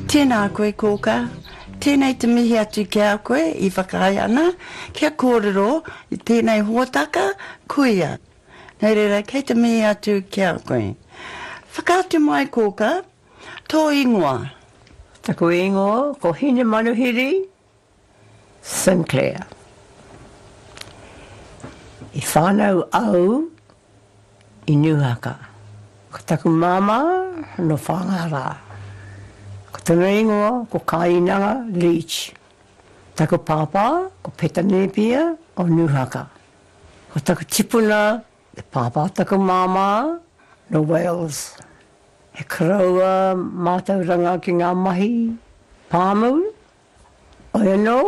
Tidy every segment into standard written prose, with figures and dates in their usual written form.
Tēnā koe kōkā, tēnei te mihi atu ki a koe i whakaae ana kia kōrero i tēnei hōtaka kuia. Nō reira, kei te mihi atu ki a koe. Whakaatu mai kōkā, tō ingoa. Taku ingoa ko Hinemanuhiri Sinclair. I whānau au i Nūhaka. Ko taku māmā nō Whāngārā. Ko tona ingoa ko Kāinanga Leach. Taku pāpā ko Peta Nēpia o Nūhaka. Ko taku tipuna te pāpā o taku māmā nō Wales. He koroua mātauranga ki ngā mahi pāmu. Hoi anō,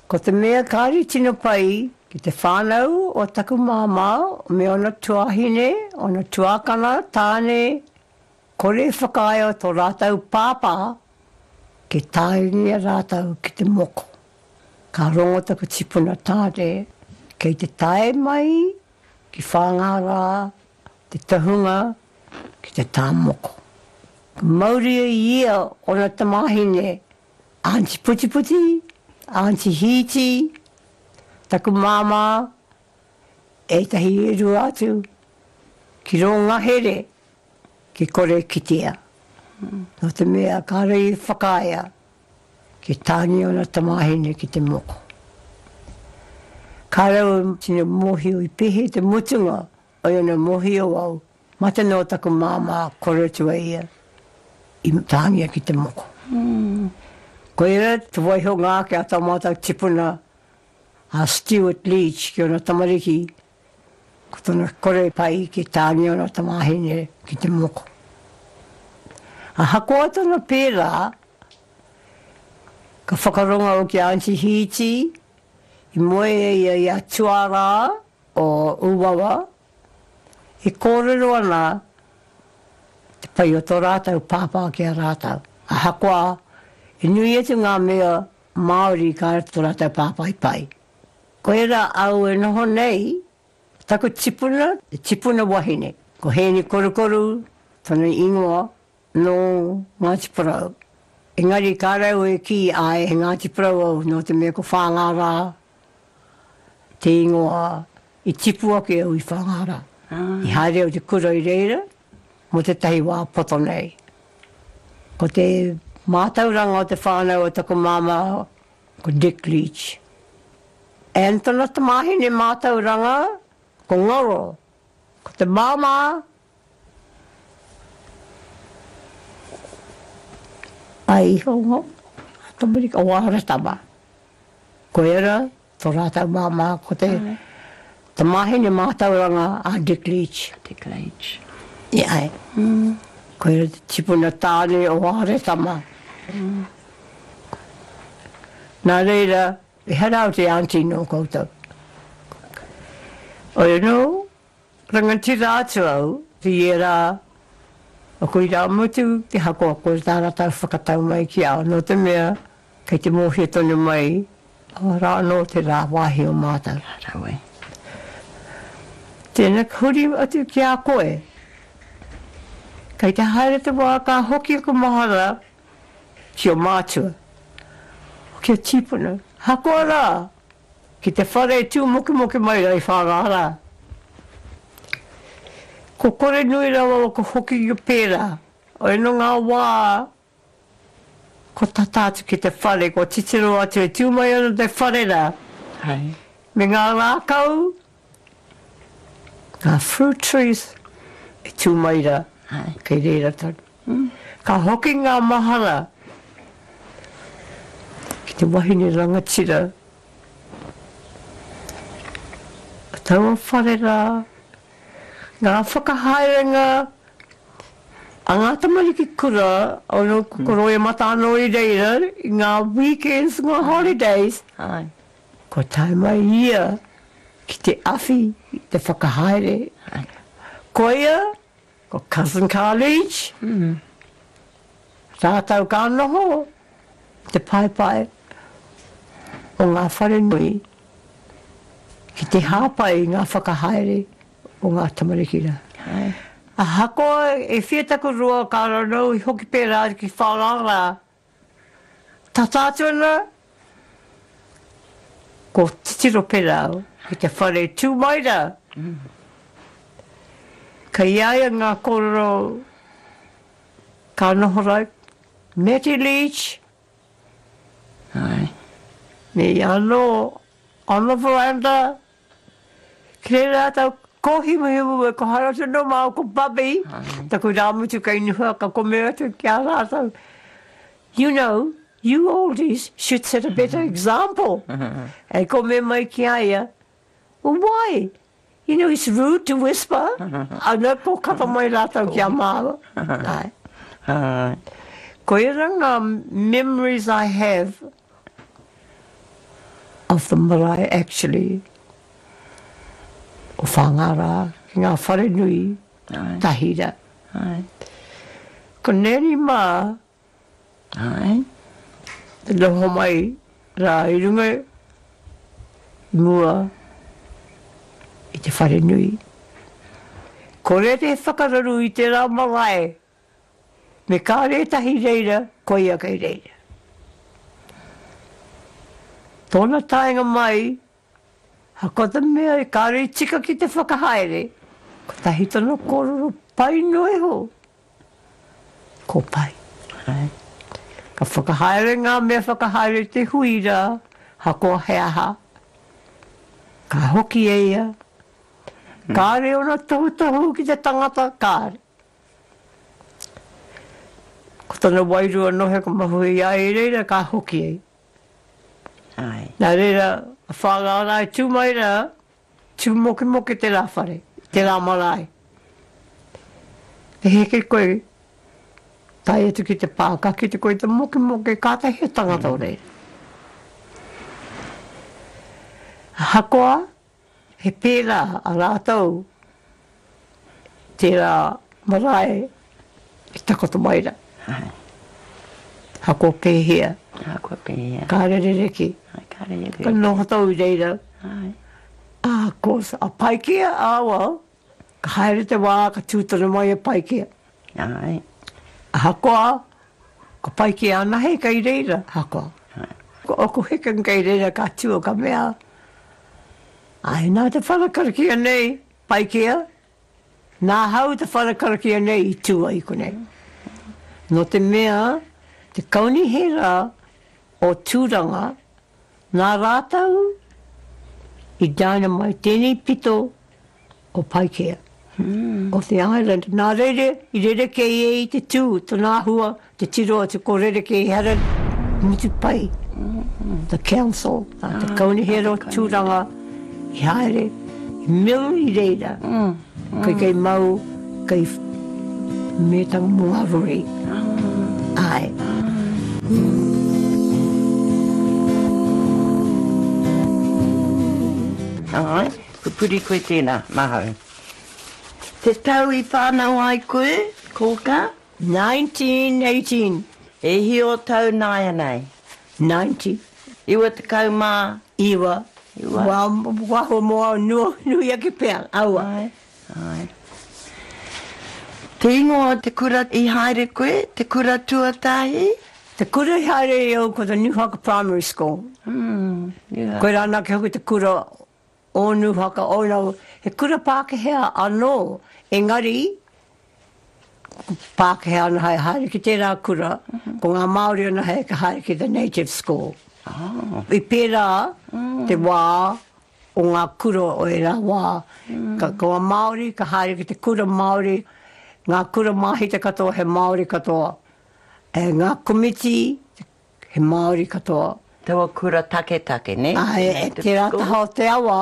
ko te mea kāre tino pai ki te whānau o taku māmā me ōna tuāhine, ōna tuākana, tāne, kore e whakaae o tō rātou pāpā ki tāringia rātou ki te moko. Ka rongo taku tipuna tāne kei te tae mai ki Whāngārā te tohunga ki te tā moko. Ka mauria ia ōna tamāhine, Aunty Putiputi, Aunty Hīti, taku māmā, ētahi e rua atu, ki rō ngahere, ki kore kitea. Nō te mea kāore i whakaaea ki tāngia ōna tamāhine ki te moko. Kāore au e tino mōhio i pēhea te mutunga Oi ana mohio au, mate noa taku māmā kore atu a ia i tāngia ki te moko. Koira te waihonga ake a tā mātou tipuna a Stewart Leach ki ōna tamariki, ko tona kore pai ki tāngia ōna tamāhine ki te moko. Ahakoa tona pērā, ka whakarongo au ki a Aunty Hīti, i moe e ia i a Tuarā, o Uwawa, e kōrero ana te pai o tō rātou pāpā ki a rātou, ahakoa i nui atu ngā mea Māori kāre tō rātou pāpā i pai. Koirā au e noho nei, taku tipuna, te tipuna wahine, ko Hēni Korukoru tona ingoa, nō Ngāti Porou. Engari kāre au e kī āe he Ngāti Porou au nō te mea ko Whāngārā te ingoa i tipu ake au i Whāngārā. I haere au te kura i reira mō tētahi wā poto nei. Ko te mātauranga o te whānau o taku māmā ko Dick Leach. And tana tamāhine mātauranga ko Ngaro. Ko te māmā Ai iho nga tamariki o Aratama. Koia to ratou mama ko te tamahine matauranga a Dick Leach. Dick Leach. I ae. Koia te tipuna tane o Aratama. Na reira, ehara au te aunty no koutou. Oi ano, Rangatira atu au i ērā o ku irāmutu te hakoako i tā rātou whakatau mai ki a au, nō te mea kei te mōhio tonu mai rā anō te rā wāhi o mātou. Ka rawe. Tēnā ka huri atu ki a koe. Kei te haere te wā ka hoki aku mahara ki ō mātua, ki ō tīpuna, ahakoa rā Ki te whare e tū mokemoke mai rā i Whāngārā. Ko kore nui rawa o ka hoki pērā. Oi nō ngā wā kua tata atu ki te whare, kua titiro atu e tū mai ana te whare rā. Me ngā rākau, ngā fruit trees e tū mai rā, kei reira tonu. Ka hoki ngā mahara ki te wahine rangatira o taua whare rā, ngā whakahaerenga a ngā tamariki kura, ono ko Roimata anō i reira i ngā weekends, ngā holidays, kua tae mai ia ki te awhi i te whakahaere. Koia Ko Cousin Carl Leach, rātou ka noho te paepae o ngā wharenui ki te hāpai i ngā whakahaere o ngā tamariki rā. Ahakoa e whia taku roa ka ranau i hoki pērā atu ki Whāngārā, tata atu ana ko titiro pērā au ki te whare tū mai rā. Kei a ia ngā kōrero ka noho rā, Matty Leach, me ia anō on the veranda, Ki reira rātou, ko Himuhimu e ko Harata nō māua ko Bubby, taku rāmutu kei Nuha ka kome atu ki a rātou, You know, you oldies should set a better example. E kome mai ki a ia, Well, why? You know, it's rude to whisper. Ana, ko kata mai rātou ki a māua. Āe. Koira ngā memories I have Of the marae actually o Whāngārā ki ngā wharenui tahira. Ko Nanny mā te noho mai rā i runga i mua i te wharenui. Kore te whakararu i tērā marae. Me kāre ētahi reira, koia kei reira. Tōna taenga mai, ahakoa te mea e kāre i tika ki te whakahaere, kotahi tana kōrero pai noa iho, ko pai. Ka whakahaere ngā mea whakahaere i te hui rā, ahakoa he aha, ka hoki e ia, kāre ōna tohutohu ki te tangata, kāre. Ko tana wairua nohe ka mahue i a ia i reira ka hoki ai. Ae. Nā reira, a Whāngārā e tū mai rā, tū mokemoke tērā whare, tērā marae. E heke koe, tae atu ki te pā, ka kite koe i te mokemoke, kātahi he tangata o reira. Ahakoa, He pērā a rātou tērā marae i takoto mai rā. Ahakoa pēhea. Ahakoa pēhea. Kāre rerekē. Kāre rerekē. Ka noho tau i reira. Ā, course, a Paikea, ā, well, ka haere te wā, ka tū tonu mai a Paikea. Āe. Ahakoa, ko Paikea anahe kei reira, ahakoa. Ko ōku hekenga kei reira ka tū, ka mea, Āe, nā te whare karakia nei, Paikea, nāhau te whare karakia nei i tū ai konei. Nō te mea, te kaunihera o Tūranga, nā rātou i dynamite tēnei pito o Paikea, o te island. Nā reira i rerekē ai te tū, tana āhua, te tiro atu ko rerekē ehara mutu pai the council, te kaunihera o Tūranga i haere, i mill i reira, kei kei mau, kei mētanga mō ngā rori. Āe. Āe. Pupuri koe tēnā, mahau. Te tau i whānau ai koe, Kōkā? 1918. E hia o tau nāianei? 90. 99. Iwa. Waho mō au nui ake pea, aua. Āe, āe. Te ingoa o te kura i haere koe, te kura tuatahi? Te kura i haere ai au ko te Newhaka Primary School. Mm, yeah. Koirā anake hoki te kura o Nūhaka, oh no, he kura Pākehā anō, engari, ko Pākehā anahe haere ki tērā kura, ko ngā Māori anahe ka haere ki the native school. Oh. I pērā te wā o ngā kura o ērā wā, ka, ko ngā Māori ka haere ki te kura Māori, ngā kura māhita katoa he Māori katoa, e, ngā komiti, He Māori katoa. Taua kura taketake, ne? Āe, e tērā taha o te awa,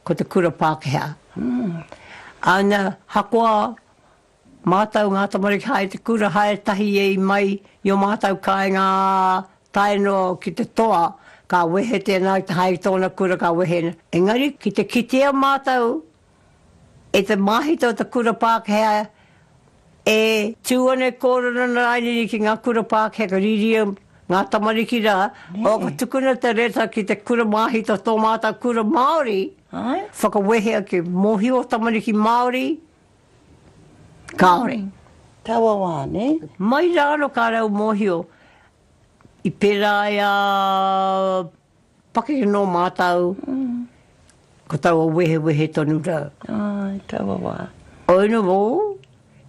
ko te kura Pākehā. Ana, hakoa mātau ngā tamariki haere te kura, haere tahi ei mai i ō mātau kāinga tae noa ki te toa, ka wehe tēnā ki te haere ki tōna kura, ka wehe. Engari, ki te kitea mātau E te māhita o te kura Pākehā e tū ana e kōrero ana rānei ki ngā kura Pākehā ka rīria ngā tamariki rā, oh, ka tukuna te reta ki te kura māhita o tō mātou kura Māori, whakawehea ki mōhio tamariki Māori. Kāore. Taua wā, nē? Mai rā anō kāre au mōhio i pērā ai a pakeke nō mātou, ko taua wehewehe tonu rā. Āe, taua wā. Oi nō,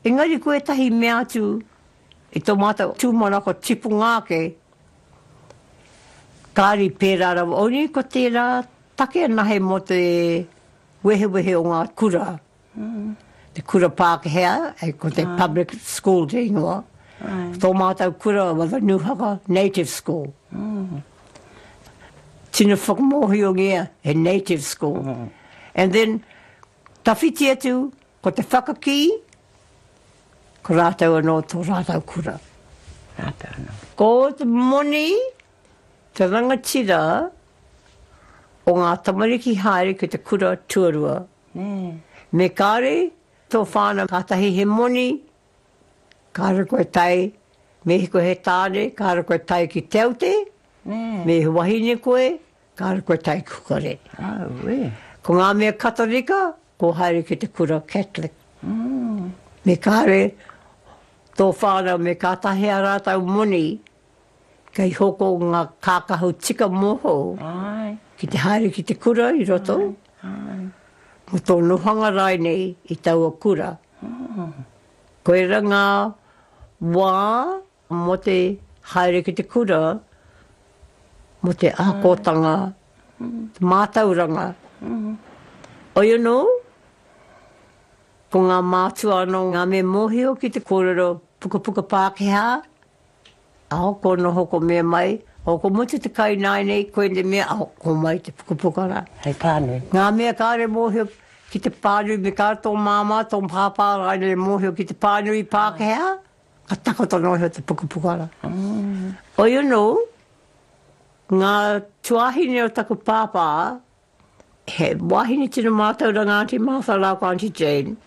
engari ko ētahi mea atu i tō mātou tūmanako tipunga ake, kāre i pērā rawa. Oi ko tērā take anahe mō te wehewehe o ngā kura. Te kura Pākehā, ko te public school te ingoa. Tō mātou kura was a Nūhaka Native School. Tino whakamōhiongia he native school. And then, tawhiti atu ko te whakakī, ko rātou anō tō rātou kura. Rātou anō. Ko te moni, te rangatira o ngā tamariki haere ki te kura tuarua. Me kāre tō whānau kātahi he moni, kāre koe tae, me he koe he tāne, kāre koe tae ki Te Aute, me he wahine koe, kāre koe tae ki Hukarere. Auē. Ko ngā mea Katorika, kua haere ki te kura Catholic. Me kāre tō whānau me kātahi ā rātou moni Kei hoko ngā kākahu tika mōhou ki te haere ki te kura i roto, mō tō nohanga rainei i taua kura. Koira ngā wā mō te haere ki te kura, mō te akotanga, te mātauranga. Oi anō, ko ngā mātua anō ngā me mōhio ki te kōrero pukapuka Pākehā, Ao, ko noho ko mea mai, ao ko mutu te kai nāianei, koinei mea, ao, ko mai te pukapuka rā. Hei pānui. Ngā mea kāore mōhio ki te pānui, me kāore tō māmā, tō pāpā rānei e mōhio ki te pānui Pākehā, ka takoto noa iho te pukapuka rā. Oi anō, ngā tuāhine o taku pāpā, he wāhine tino mātauranga Aunty Martha rāua ko Aunty Jane.